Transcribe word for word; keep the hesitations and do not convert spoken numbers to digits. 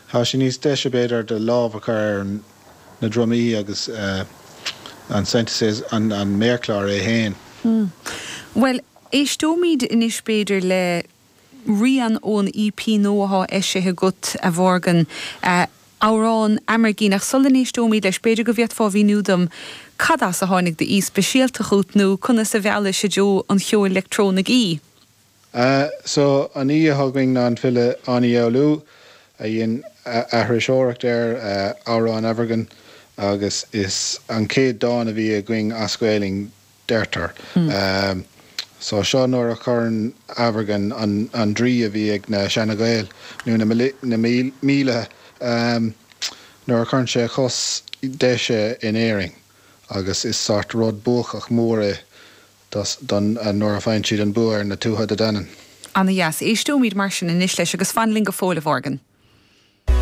Tá sé níos deise b'fhéidir do lámh a chur ar na drumaí agus uh, an synthesizer an, an méarchlár é féin. Mm. Well, éisteoimid anois b'fhéidir le rian ón EP nua atá eisithe agat a Mhorgan uh, amhrán Amergin ach sula n-éisteoimid leis b'fhéidir go bhféadfá a mhíniú dom cad as a tháinig d'aoi speisialta chugat nó conas a mheall sé treo an cheoil leictreonaigh í. Uh, so an aoi a thugainn ná an file Áine Fhoghlú a dhein aithriseoireacht ar uh, amhrán Amergin agus is an chéad dán a bhí againn as Gaeilge deirtear. Mm. Um, so seo nuair a chuireann Amergin an, an draoi a bhí ag na seana-Ghaeil nó na, na míle um, nuair a chuireann sé chos deise in Éirinn agus is sort rud buachach mór é don nuair a faigheann siad an bua ar na Tuatha Dé Danann. Ana dheas éisteoimid mar sin anois leis agus fan linn go fóill a Mhorgan.